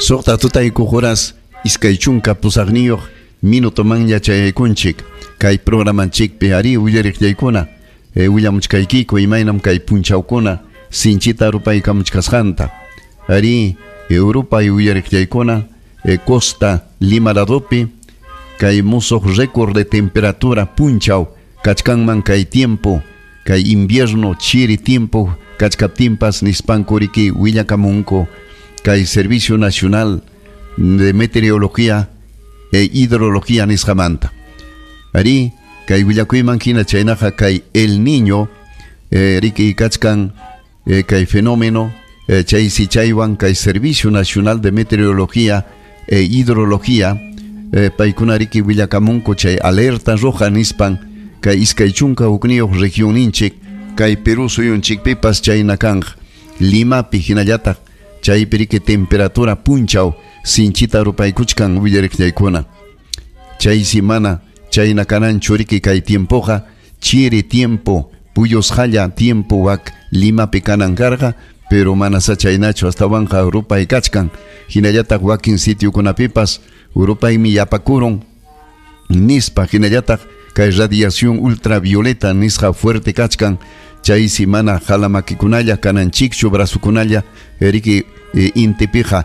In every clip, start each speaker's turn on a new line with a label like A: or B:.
A: Suqta tutaykuq horas 28 minutomanña chayaykunchik kay programanchikpi. Ari uyariqllaykuna, willamuchkaykiku imaynam kay punchawkuna sinchita rupaykamuchkasqanta. Ari Europa uyariqllaykuna, Costa Lima ladopi kay musuq récord de temperatura punchaw kachkanman kay tiempo, kay invierno chiri tiempo kachkaptinpas nispanku riki willakamunku kay Servicio Nacional de Meteorología e Hidrología nisqamanta. Ari kay willakuyman hina chaynaqa kay El Niño riki kachkan kay fenómeno, chaysi chaywan kay Servicio Nacional de Meteorología e Hidrología paykuna riki willakamunku chay alerta roja nispan kay 21 regionninchik kay Perú suyunchikpipas chayna kanja Limapi hinallataq chaypi riki temperatura punchaw sinchita rupaykuchkan willariqllaykuna. Chaysi mana chayna kananchu riki kay tiempoqa chiri tiempo puyusqalla tiempo wak Limapi kanan karqa, pero mana sa chaynachu astawanqa rupay kachkan hinallataq wakin sitiokunapipas rupaymi yapakurun nispa hinallataq kay radiación ultravioleta nisqa fuerte kachkan chaysi mana jalamakikunalla kananchikchu brazukunalla riki intipiqa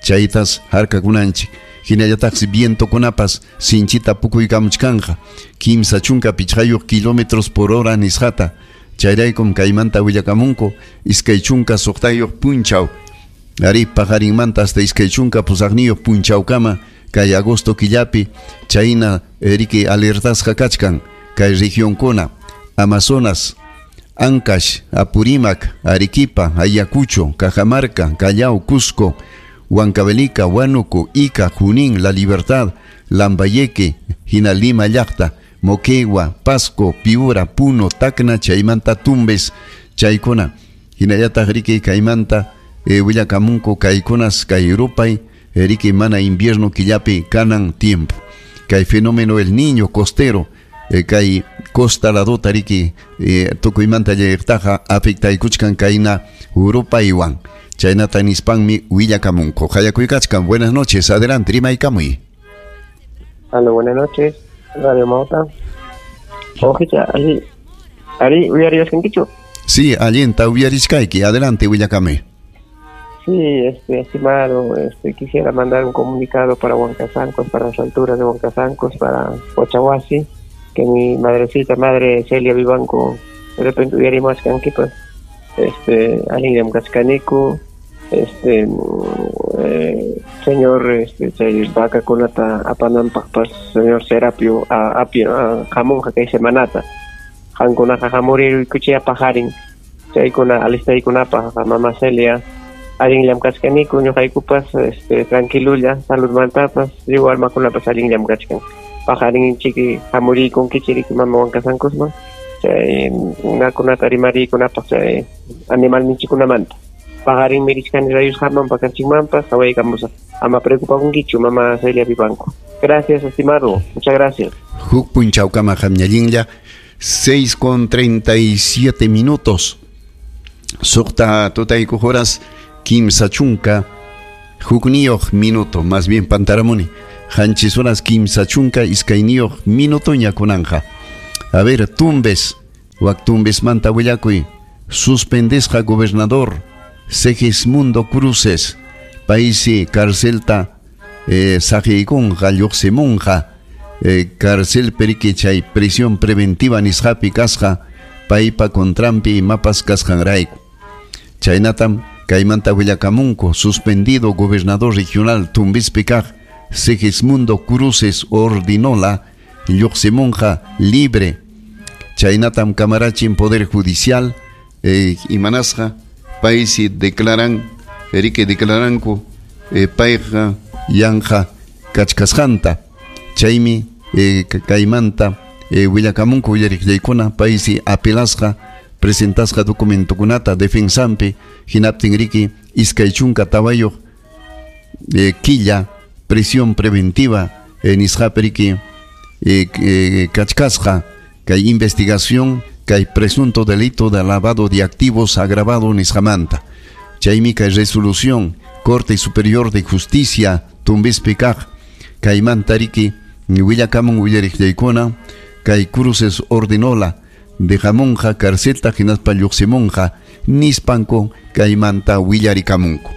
A: chaytas harkakunanchik hinallataqsi vientokunapas sinchita pukuykamuchkanqa 35 kilómetros por hora nisqata chayraykum kaymanta willakamunku 26 punchaw ari paqarinmanta hasta 28 punchawkama kay agosto killapi chayna riki alertasqa kachkan kay regionkuna Amazonas, Ancash, Apurímac, Arequipa, Ayacucho, Cajamarca, Callao, Cusco, Huancavelica, Huánuco, Ica, Junín, La Libertad, Lambayeque, hina Lima llaqta, Moquegua, Pasco, Piura, Puno, Tacna, chaymanta Tumbes, chaykuna. Hinallataq riki kaymanta willakamunku kaykunas kay rupay riki mana invierno killapi kanan tiempo. Kay fenómeno El Niño costero, kay costa ladota riki tukuymanta llayqtaqa afectaykuchkan kayna rupaywan. Chaynata nispanmi willakamunku. Hayakuykachkan. Buenas noches, adelante, rimaykamuy.
B: Aló, buenas noches, Radio Mauta. Ojicha, allí, ari, uyariwaskankichu?
A: Sí, allinta uyarichkayki, adelante, willakame.
B: Sí, estimado, quisiera mandar un comunicado para Huancasancos, para las alturas de Huancasancos, para Cochahuasi, que mi madrecita, madre Celia Vivanco, de repente uyarimaskanki, pues, allinllam kachkaniku, señor, chay vacakunata apananpaqpas, señor Serapio, apio, hamunqa kay semanata, qankunaqa hamuriruykuchaya pajarin, chaykuna alistaykunapaq, mama Celia, allinllam kachkaniku, ñuqaykupas, tranquilulla, saludmantapas, lliw almakunapas allinllam kachkan. Pajarinchiki hamuriykunkichik mama Huancasancosman, chay nakunata rimariykunapaq chay animalninchikunamanta. Pajarin mirichkani rayusqaman pakanchikmanpas hawaykamusaq. Ama preocupakunkichu mama Celia Vivanco. Gracias, estimado. Muchas gracias.
A: Huk punchawkama qamñallinlla 6:37 minutos. Suqta tutaykuq horas 31 minuto, más bien pantaramuni. 7 horas 32 minuto ñakunanja. A ver, Tumbes, wak Tumbes manta willakuy, suspendesqa gobernador Segismundo Cruces, paisi carcelta saqiykunqa lluqsimunqa, cárcel periki chay prisión preventiva nisqapi kasqa paypa contranpi imapas kasqanrayku. Chaynatam kaymanta willakamunku suspendido gobernador regional Tumbespi kaq Segismundo Cruces Ordinola lluqsimunqa libre. Chaynatam kamarachin Poder Judicial imanasqa paysi declaran riki declaranku payqa yanqa kachkasqanta. Chaymi kaymanta willakamunku willariqllaykuna paysi apelasqa presentasqa documentokunata defensampi hinaptin riki 24 killa prisión preventiva nisqapi riki kachkasqa kay investigación kay presunto delito de lavado de activos agravado nisqamanta. Chaymi kay resolución Corte Superior de Justicia Tumbespi kaq kaymanta riki willakamun willariqllaykuna kay Cruces Ordinola dejamunqa carcelta hinaspa lluqsimunqa nispanku kaymanta willarikamunku.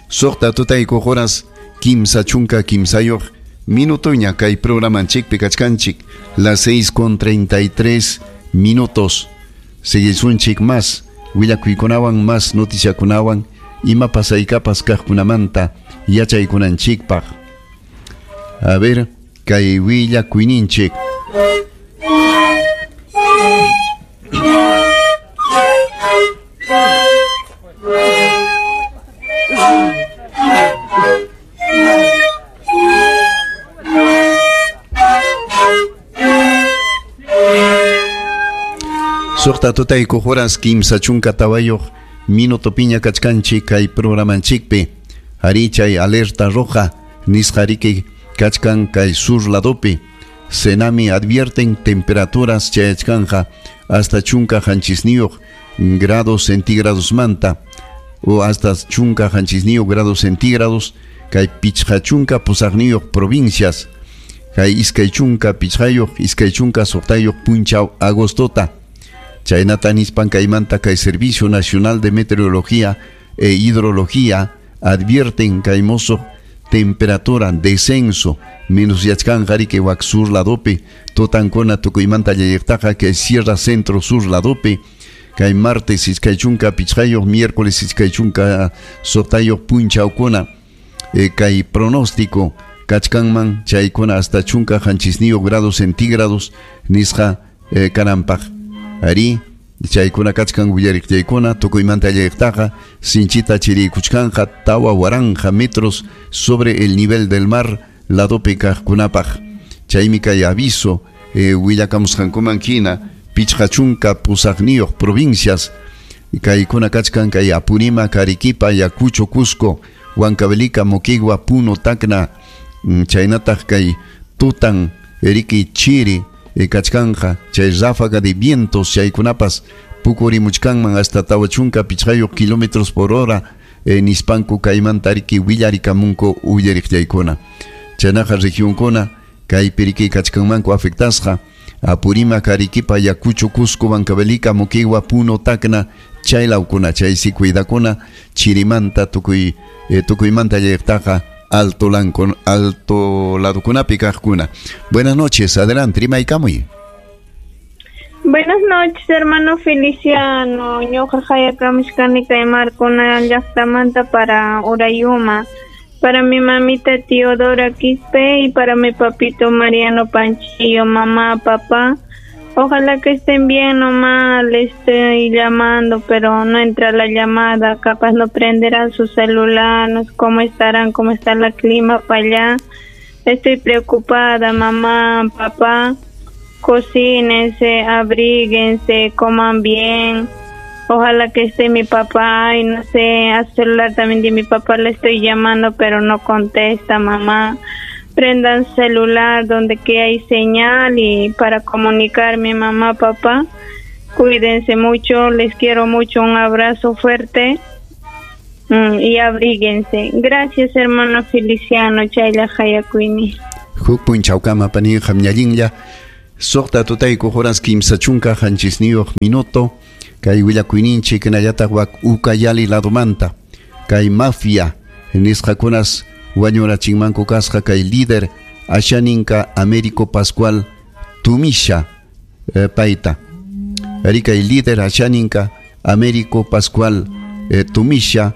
A: 6 tutayku horas 33 minutoña kay programanchikpi kachkanchik las 6:33 minutos. Seguisunchik más willakuykunawan más noticiakunawan ima pasaykapas kaqkunamanta yachaykunanchikpaq. A ver, kay willakuyninchik. 6 tutayku horas 34 minuto piña kachkanchik kay programanchikpi. Harichay alerta roja nisqariki kachkan kay sur ladopi. Senami advierten temperaturas chayachkanja hasta 17 grados centígrados manta o hasta 17 grados centígrados kay 58 provincias kay 25 26 punchaw agostota. Chaynata nispan kaymanta kay Servicio Nacional de Meteorología e Hidrología advierten kay mozo temperatura descenso menos yachkan jarike wak sur ladopi totankuna tukuymanta llayaqtaqa kay Sierra Centro Sur ladopi kay martes 25 miércoles 26 punchawkuna kay pronóstico kachkanman chaykuna hasta 17 grados centígrados nisqa kananpaq. Ari chaykuna kachkan willariqllaykuna tukuymanta llayaqtaqa sinchita chiriykuchkanqa 4000 metros sobre el nivel del mar ladopi kaqkunapaq. Chaymi kay aviso willakamusqankuman hina 58 provincias kaykuna kachkan kay Apurímac, Arequipa, Ayacucho, Cusco, Huancavelica, Moquegua, Puno, Tacna, chaynataq kay tutan riki chiri kachkanja chay ráfaga de vientos chaykunapas pukurimuchkanman hasta 45 kilómetros por hora nispanku kaymanta riki willarikamunku uyariqllaykuna. Chaynaqa regionkuna kaypi riki kachkanmanku afectasqa Apurímac, Arequipa, Ayacucho, Cusco, Huancavelica, Moquegua, Puno, Tacna, chaylawkuna chaysi cuidakuna chirimanta tukuymanta llayaqtaqa alto ladokunapi kaqkuna. Buenas noches, adelante, rimaykamuy.
C: Buenas noches, hermano Feliciano. Ñuqa hayakamushkani kay Marcona llaqtamanta para Urayuma, para mi mamita Teodora Quispe y para mi papito Mariano Panchillo, mamá, papá. Ojalá que estén bien nomás, le estoy llamando, pero no entra la llamada, capaz no prenderán su celular, no sé cómo estarán, cómo está el clima para allá. Estoy preocupada, mamá, papá, cocínense, abríguense, coman bien. Ojalá que esté mi papá, y no sé, al celular también de mi papá le estoy llamando, pero no contesta, mamá. Prendan celular donde que hay señal y para comunicarme, mamá, papá. Cuídense mucho, les quiero mucho, un abrazo fuerte y abríguense. Gracias, hermano Feliciano, chaylla hayakuini.
A: Huk punchawkama pani hamñallinlla 6 tutayku horas 37 minuto kay willakuyninchik hinallataq wak Ucayali ladomanta kay mafia nisqakunas wañurachinmanku kasqa kay líder Ashaninka Américo Pascual Tumisha payta. Ari kay líder Ashaninka Américo Pascual Tumisha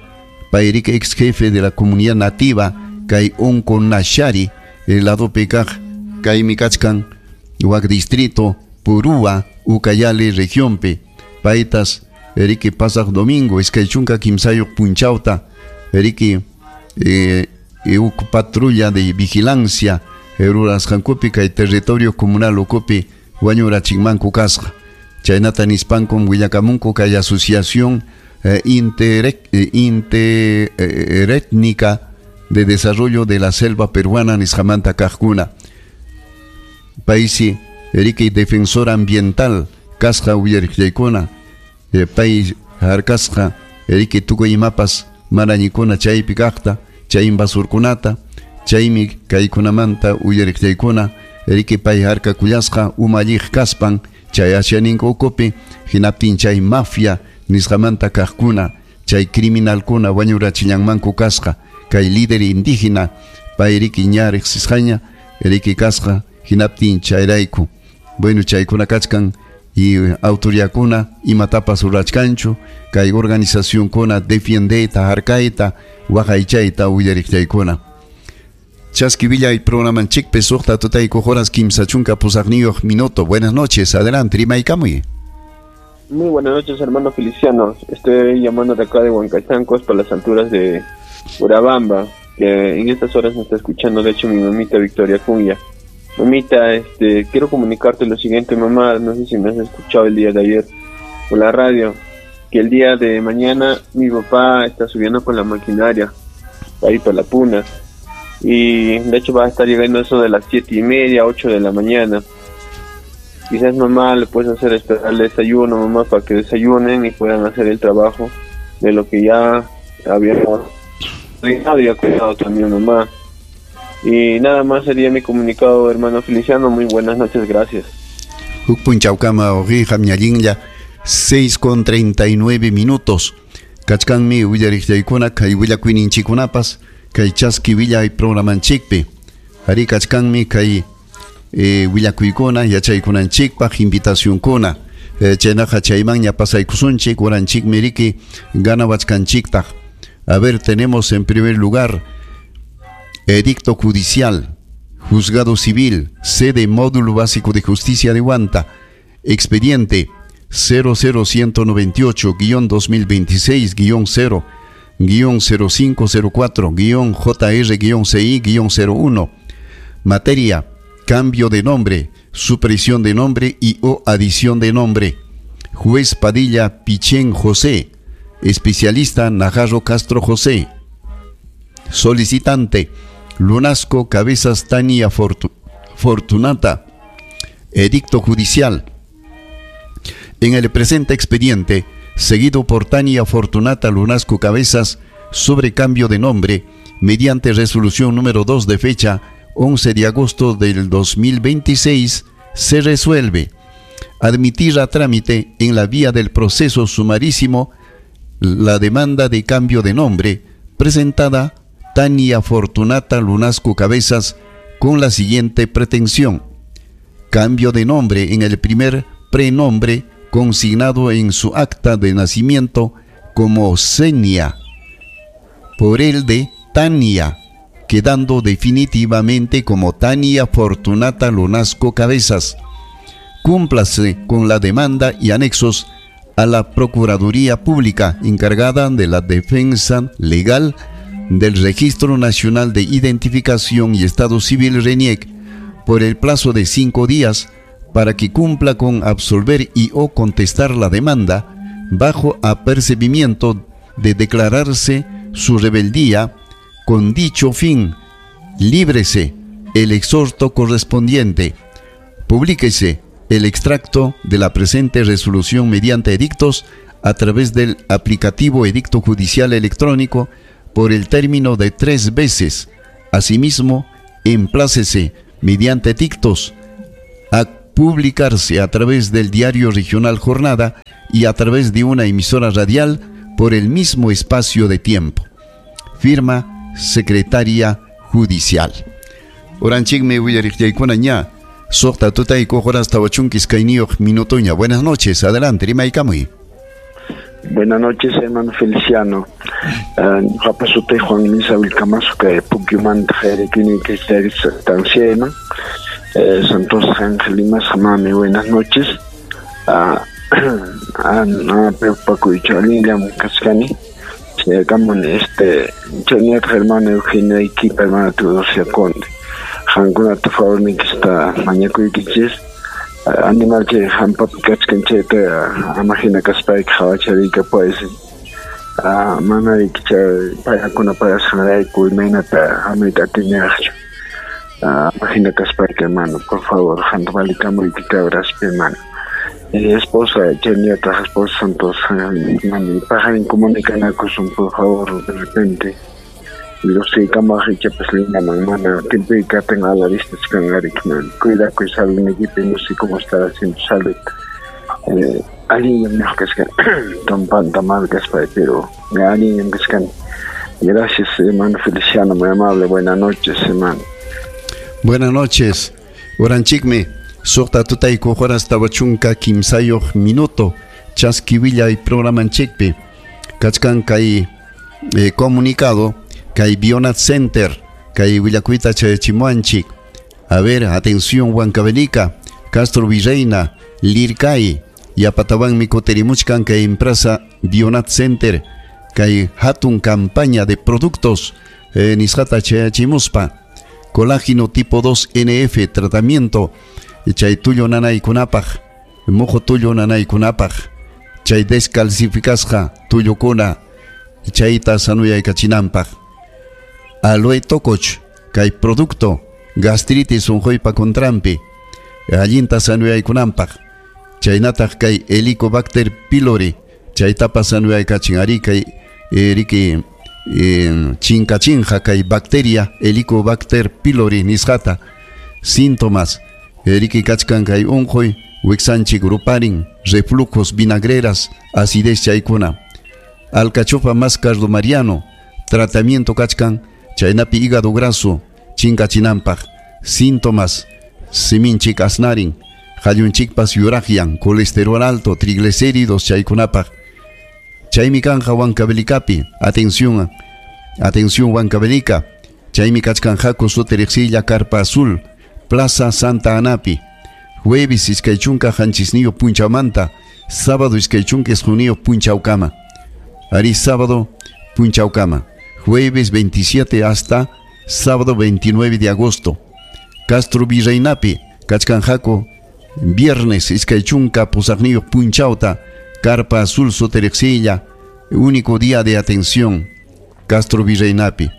A: payrika ex jefe de la comunidad nativa kay Onco Nashari ladopi kaq kaymi kachkan wak distrito Purúa Ucayali regionpi paytas riki pasaq domingo 23 punchawta riki huk patrulla de vigilancia rurasqankupi kay territorio comunal ukupi wañurachinmanku kasqa. Chaynata nispankum willakamunku kay asociación interétnica de desarrollo de la selva peruana nisqamanta kaqkuna. Paysi riki defensor ambiental kasqa uyariqllaykuna pay harkasqa riki tukuy imapas marañikuna chaypi kaqta, chay invasorkunata, chaymi kaykunamanta uyariqllaykuna riki pay harkakullasqa umalliq kaspan chay Ashaninka ukupi, hinaptin chay mafia nisqamanta kaqkuna, chay criminalkuna wañurachillanmanku kasqa, kay líder indígena pay riki ña riqsisqaña riki kasqa, hinaptin chayrayku. Bueno, chaykuna kachkan y autoridadkuna imatapas rurachkanchu, kay organizacionkuna defiendeyta, harkayta, waqaychayta uyariqllaykuna. Chaski Villa y programanchikpi suqta tutayku horas 38 minuto. Buenas noches, adelante, rimaykamuy.
B: Muy buenas noches, hermano Feliciano. Estoy llamando de acá de Huancachancos para las alturas de Urabamba, que en estas horas me está escuchando, de hecho, mi mamita Victoria Cunya. Mamita, quiero comunicarte lo siguiente, mamá, no sé si me has escuchado el día de ayer por la radio, que el día de mañana mi papá está subiendo con la maquinaria, ahí por la Puna, y de hecho va a estar llegando eso de las 7:30, 8 de la mañana. Quizás, mamá, le puedes hacer esperar el desayuno, mamá, para que desayunen y puedan hacer el trabajo de lo que ya habíamos realizado y ha cuidado también, mamá. Y nada más sería mi comunicado, hermano Feliciano. Muy buenas noches, gracias.
A: Huk punchawkama oqija ñallinlla 6:39 minutos. Kachkanmi willariqllaykuna kay willakuyninchikkunapas kay Chaski Villa y programanchikpi. Ari kachkanmi kay willakuykuna yachaykunanchikpaq invitacionkuna. Chaynaqa chaymanña pasaykusunchik waranchikmi riki ganawachkanchiktaq. A ver, tenemos en primer lugar edicto judicial, juzgado civil, sede módulo básico de justicia de Huanta, expediente 00198-2026-0 -0504 -JR-CI -01. Materia, cambio de nombre, supresión de nombre y o adición de nombre. Juez Padilla Pichén José, especialista Najarro Castro José. Solicitante, Lunasco Cabezas Tania Fortunata. Edicto judicial. En el presente expediente, seguido por Tania Fortunata Lunasco Cabezas, sobre cambio de nombre, mediante resolución número 2 de fecha 11 de agosto del 2026, se resuelve admitir a trámite en la vía del proceso sumarísimo la demanda de cambio de nombre presentada Tania Fortunata Lunasco Cabezas con la siguiente pretensión: cambio de nombre en el primer prenombre consignado en su acta de nacimiento como Senia por el de Tania, quedando definitivamente como Tania Fortunata Lunasco Cabezas. Cúmplase con la demanda y anexos a la Procuraduría Pública encargada de la defensa legal del Registro Nacional de Identificación y Estado Civil RENIEC por el plazo de 5 días para que cumpla con absolver y o contestar la demanda bajo apercibimiento de declararse su rebeldía. Con dicho fin, líbrese el exhorto correspondiente. Publíquese el extracto de la presente resolución mediante edictos a través del aplicativo Edicto Judicial Electrónico por el término de 3 veces. Asimismo, emplácese mediante edictos a publicarse a través del diario regional Jornada y a través de una emisora radial por el mismo espacio de tiempo. Firma Secretaria Judicial. Oranchikmi willariqllaykuna ña suqta tutayku horas tawachunkis kayniyuq minutoña. Buenas noches, adelante, rimaykamuy.
D: Buenas noches, hermano Feliciano. Ñuqapa sutay Juan Isabel Camazo, que Pukyumanta Jairekini que Tanciema. Santos Ángel y más mami, buenas noches. Cascani. Chaniat hermano Eugenio Equipa, hermano Teodosia Conde. Jancuna, tu favor, mi que está mañacuiquichis. Animal que hampap kachkancheta amajina kaspayk hawacharika pues mana ikicha payakuna payasqanrayku imaynata hamuyta atiñaqchu. Amajina kaspayk hermano, por favor, hantumalikamuy kikabraspi hermano. Esposa, chaynallataq esposa Santos, mami, paqarin comunicanakusun, por favor, de repente. Lluqsiykamaq ichapas Limaman, mana tiempoy katin a la vista kachkan man. Cuidakuy saludniykipi, no sé cómo estará haciendo salud. Allinñam ñuqa kachkan, tumpanta mal kaspay, pero allinñam kachkan. Gracias, hermano Feliciano, muy amable. Buenas noches, hermano.
A: Buenas noches. Horanchikmi, suqta tutayku horas 43 minuto, chaski willay programanchikpi. Kachkan kay comunicado, kay Bionat Center, kay willakuyta chayachimuanchik. A ver, atención, Huancavelica, Castro Virreina, Lircay, yapatawanmi kutirimuchkan kay empresa Bionat Center, kay hatun campaña de productos nisqata chayachimuspa. Colágeno tipo 2 NF, tratamiento, chay tullu nanaykunapaq, muhu tullu nanaykunapaq, chay descalcificasqa tullukuna, chayta sanuyaykachinanpaq. Aloe tokoch, kay producto, gastritis unquypa contranpi, allinta sanuyaykunanpaq. Chaynataq kay Helicobacter pylori, chaytapas sanuyaykachin ari kay riki chinkachinqa kay bacteria Helicobacter pylori nisqata. Síntomas, riki kachkan kay unquy, wiksanchik ruparin, reflujos, vinagreras, acidez chaykuna. Alcachofa más cardomariano, tratamiento kachkan, chaynapi hígado graso, chinkachinanpaq. Síntomas, siminchik asnarin, qallunchikpas yuraqyan, colesterol alto, triglicéridos chaykunapaq. Chaymi kanja Huancavelicapi, atención, atención Huancavelica, chaymi kachkan haku suti riqsiylla Carpa Azul, Plaza Santa Anapi, jueves 27 punchawmanta, sábado 29 punchawkama. Ari sábado punchawkama, jueves 27 hasta sábado 29 de agosto. Castro Virreinapi, kachkan haku, viernes 28 punchawta, Carpa Azul suti riqsiylla, único día de atención, Castro Virreinapi.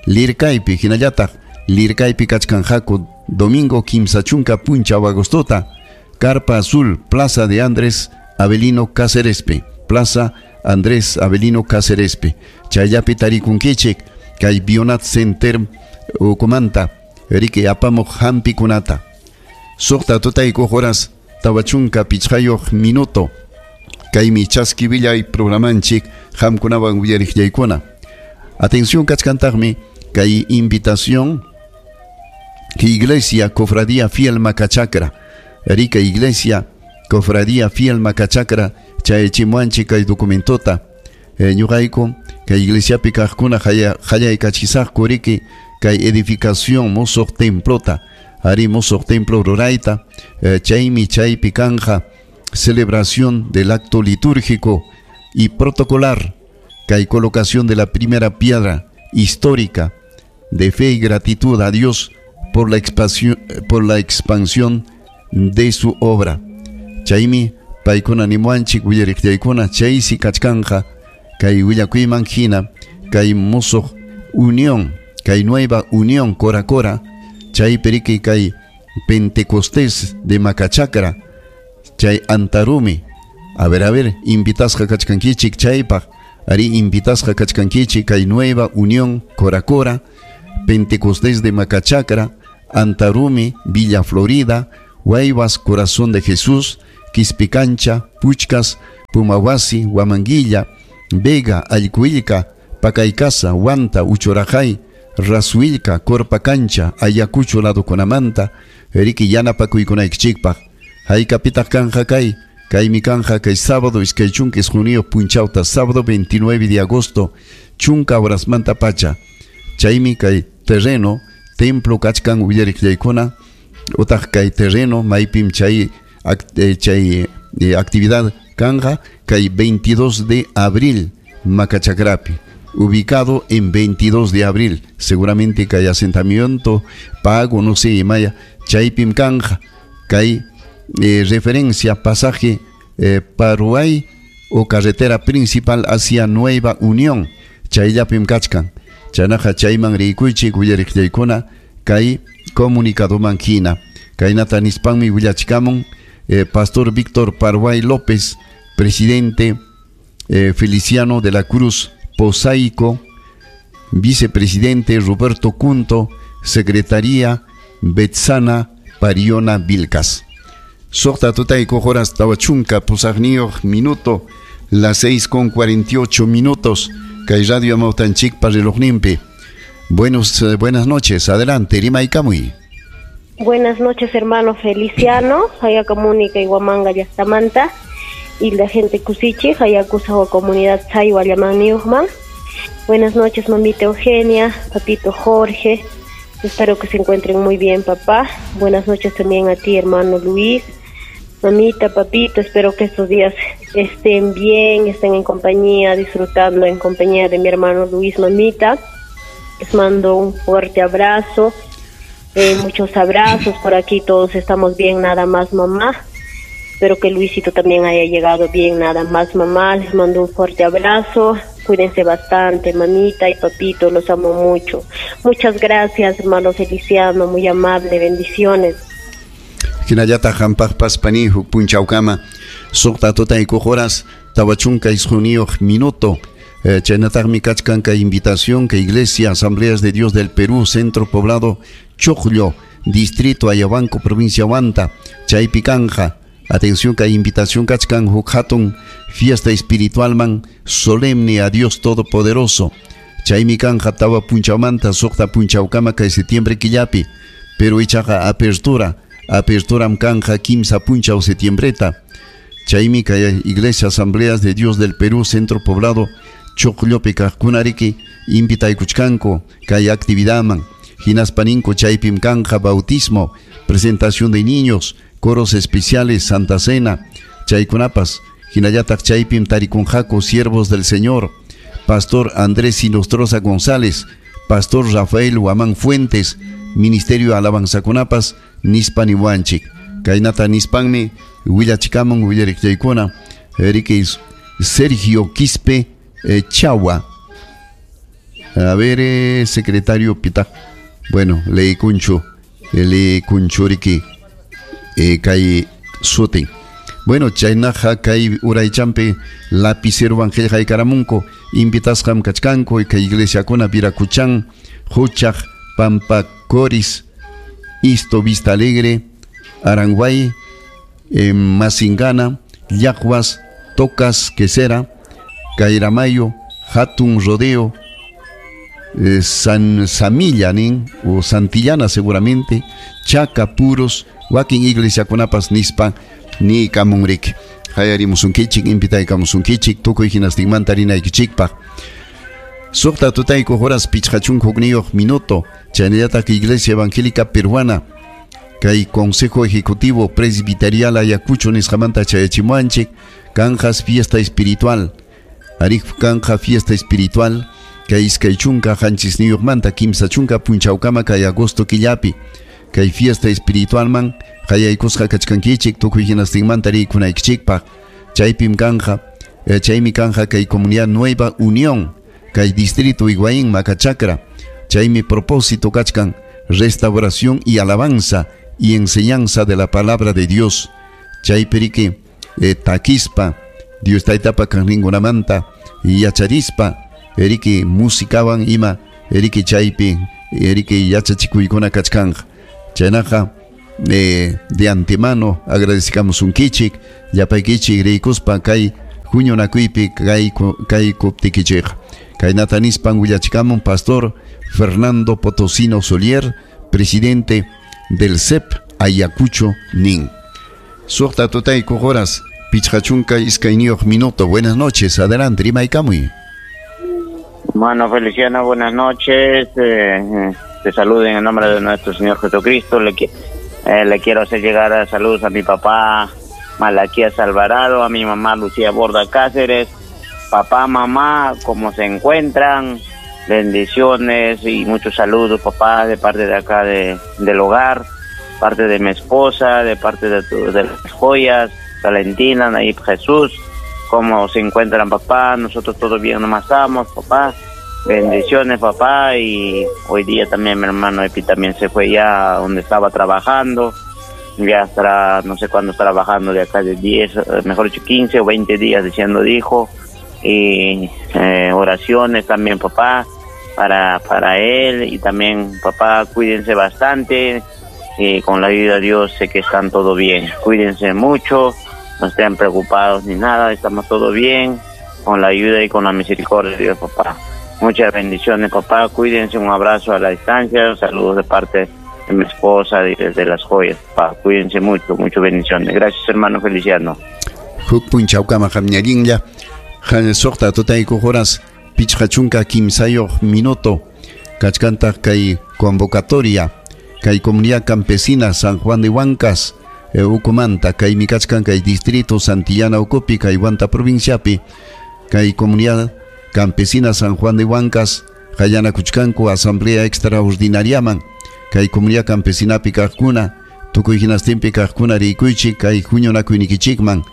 A: Lircaypi, hinallataq, Lircaypi kachkan haku, domingo 30 punchaw agostota, Carpa Azul, Plaza de Andrés Avelino Cácerespe, Plaza Andrés Avelino Cácerespe. Chayllapi tarikunkichik, kay Bionat Center ukumanta, riki apamuq hampikunata. Suqta tutayku horas 45 minuto. Kaymi chaski willay programanchik qamkunawan willariqllaykuna. Atención kachkantaqmi kay invitación Iglesia Cofradía Fiel Macachacra. Rica Iglesia Cofradía Fiel Macachacra chayachimuanchik kay documentota. Ñuqayku kay iglesiapi kaqkuna hallaykachisaqku riki kay edificación musuq templota. Ari musuq templo rurayta. Chaymi chaypi kanja celebración del acto litúrgico y protocolar, kay colocación de la primera piedra histórica de fe y gratitud a Dios por la expansión de su obra. Chaymi paykuna nimuanchik willariqllaykuna chaysi kachkanja kay willakuyman hina kay musuq unión, kay nueva unión Cora Cora, chaypi riki kay Pentecostés de Macachacra, chay Antarumi. A ver, invitasqa kachkankichik chaypaq, ari invitasqa kachkankichik kay nueva unión Cora Cora, Pentecostés de Macachacra, Antarumi, Villa Florida, Huayvas, Corazón de Jesús, Quispicancha, Puchcas, Pumahuasi, Huamanguilla, Vega, Allcuilca, Pacaycasa, Huanta, Uchorajay, Rasuilca, Corpacancha, Ayacucho, ladokunamanta, riki yanapakuykunaykichikpaq. Haykapitaq kanja kay, kaymi kanja kay sábado 29 punchawta, sábado 29 de agosto, 10 horasmanta pacha. Chaymi kay terreno, templo kachkan willariqllaykuna, utaq kay terreno maypim chay actividad kanja kay 22 de abril Macachacrapi, ubicado en 22 de abril, seguramente kay asentamiento pago, no sé, maya, chaypim kanja kay referencia pasaje Paruay o carretera principal hacia Nueva Unión, chayllapim kachkan. Chanaja chayman rikuychik willariqllaykuna kay comunicadoman hina. Kaynata nispanmi willachikamun Pastor Víctor Parguay López, presidente, Feliciano de la Cruz Posaico, vicepresidente Roberto Cunto, secretaría Betsana Pariona Vilcas. Suqta tutaykuq horas 40 pusaqniyuq minuto, las 6:48 minutos, kay radio Amawtanchikpa relojninpi. Buenas noches, adelante, rimaykamuy.
E: Buenas noches, hermano Feliciano, Hayakamuni kay Huamanga llaqtamanta, y la gente Kusichi, Hayakusa comunidad Chaywa llamaniyuqman. Buenas noches, mamita Eugenia, papito Jorge, espero que se encuentren muy bien, papá. Buenas noches también a ti, hermano Luis. Mamita, papito, espero que estos días estén bien, estén en compañía, disfrutando en compañía de mi hermano Luis, mamita. Les mando un fuerte abrazo, muchos abrazos por aquí, todos estamos bien, nada más, mamá. Espero que Luisito también haya llegado bien, nada más, mamá. Les mando un fuerte abrazo. Cuídense bastante, mamita y papito, los amo mucho. Muchas gracias, hermano Feliciano, muy amable, bendiciones.
A: Hinallataq qampaqpas pani huk punchawkama suqta tutaykuq horas 49 minuto. Chaynataqmi kachkan kay invitación que Iglesia Asambleas de Dios del Perú, Centro Poblado Choclo, Distrito Ayahuanco, Provincia Huanta, chaypi kanja. Atención kay invitación kachkan huk hatun fiesta espiritual man solemne a Dios Todopoderoso. Chaymi kanja 4 punchawmanta 6 punchawkama kay septiembre killapi, pero ichaqa aperturam kanja 3 punchaw septiembreta. Chaymi kay Iglesia Asambleas de Dios del Perú, Centro Poblado Choclopi kaqkunariki invitaykuchkanku kay actividadman. Hinaspaninko chaypim kanja bautismo, presentación de niños, coros especiales, Santa Cena, chaykunapas. Hinallataq chaypim tarikunjaku siervos del Señor, Pastor Andrés Inostroza González, Pastor Rafael Huamán Fuentes, Ministerio Alabanzakunapas, nispa niwanchik. Kaynata nispanmi willachikamun willariqchaykuna, riki Sergio Quispe Chagua. A ver, secretario Pita. Bueno, leekunchu riki kay sutin. Bueno, chaynaqa kay uraychampi lapicero qillqaykaramunku, invitasqam kachkanku kay iglesiakuna Viracuchán, Huchaq, Pampacoris, Isto Vista Alegre, Aranguay, Masingana, Yaguas, Tocas, Quesera, Cairamayo, Hatun Rodeo, San Samillanin o Santillana seguramente, Chaca, Puros, wakin iglesiakunapas nispa ni kamunrik. Hayarimusunkichik, invitaykamusunkichik, tukuy hinastinmanta rinaykichikpaq. Suqta tutaykuq horas 51 minuto, chaynallataq Iglesia Evangélica Peruana, kay Consejo Ejecutivo Presbiterial Ayacucho nisqamanta chayachimuanchik, kanjas fiesta espiritual. Arik kanja fiesta espiritual, kay 27 manta 30 punchawkama kay agosto killapi. Kay fiesta espiritual man, qayaykusqa kachkankichik, tukuy hinastinmanta rikunaykichikpaq. Chaypim kanja, chaymi kanja kay comunidad Nueva Unión, kay distrito Higuaín, Macachacra. Chaymi propósito kachkan, restauración y alabanza y enseñanza de la palabra de Dios. Chaypiriki takispa, Dios taytapa kaqninkunamanta, yacharispa, eriki musikawan ima, eriki chaypi, eriki yachachikuykuna kachkanja. Chaynaqa de antemano agradecikamusunkichik, llapaykichik riykuspa kay huñunakuypi kay kuptikichik. Kaynata nispan willachikamun Pastor Fernando Potosino Solier, presidente del CEP Ayacucho nin. Suqta tutaykuq horas 52 minuto. Buenas noches, adelante, rimaykamuy.
F: Hermano Feliciano, buenas noches. Te saludo en el nombre de nuestro Señor Jesucristo. Le quiero hacer llegar saludos a mi papá Malaquías Alvarado, a mi mamá Lucía Borda Cáceres. Papá, mamá, ¿cómo se encuentran? Bendiciones y muchos saludos, papá, de parte de acá del hogar, parte de mi esposa, de parte de las joyas, Valentina, Naip Jesús. ¿Cómo se encuentran, papá? Nosotros todos bien nomás estamos, papá. Bendiciones, papá. Y hoy día también mi hermano Epi también se fue ya donde estaba trabajando. Ya estará, no sé cuándo estará bajando de acá de 10, mejor dicho, 15 o 20 días, diciendo, dijo. Y oraciones también, papá, para él. Y también, papá, cuídense bastante. Y con la ayuda de Dios sé que están todo bien. Cuídense mucho, no estén preocupados ni nada, estamos todo bien. Con la ayuda y con la misericordia de Dios, papá. Muchas bendiciones, papá. Cuídense, un abrazo a la distancia. Saludos de parte de mi esposa y desde Las Joyas, papá. Cuídense mucho, muchas bendiciones. Gracias, hermano Feliciano.
A: Huk punchawkama qamñallinlla suqta tutaykuq horas 53 minuto kachkantaq kay convocatoria kay comunidad campesina San Juan de Huancas ukumanta kaymi kachkan kay distrito Santillana ukupi kay Huanta provinciapi kay comunidad campesina San Juan de Huancas qayanakuchkanku asamblea extraordinariaman kay comunidad campesinapi kaqkuna tukuy hinastinpi kaqkuna rikuychik kay huñunakuynikichikman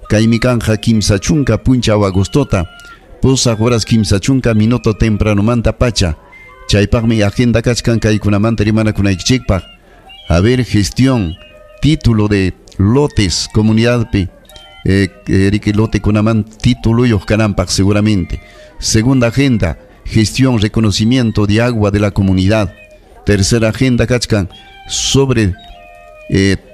A: kaymi kanja 30 punchaw agostota 8 horas 30 minuto tempranomanta pacha chaypaqmi agenda kachkan kaykunamanta rimanakunaykichikpaq. A ver, gestión, título de lotes comunidadpi riki lotekunaman tituluyuq kananpaq seguramente. Segunda agenda, gestión, reconocimiento de agua de la comunidad. Tercera agenda kachkan sobre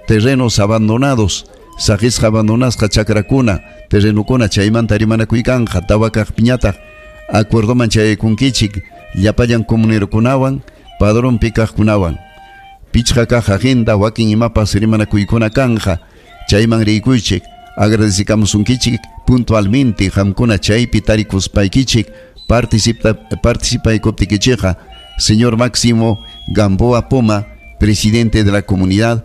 A: terrenos abandonados, saqisqa abandonasqa chakrakuna, terrenukuna chaymanta rimanakuykanja, tawakaq piñataq acuerdoman chayaykunkichik llapallan comunerokunawan, padronpi kaqkunawan. Pichqa kaq agenda wakin imapas rimanakuykuna kanja, chayman riykuychik, agradecikamusunkichik puntualmente qamkuna chaypi tarikuspaykichik participaykuptikichikqa. Señor Máximo Gamboa Poma, presidente de la comunidad.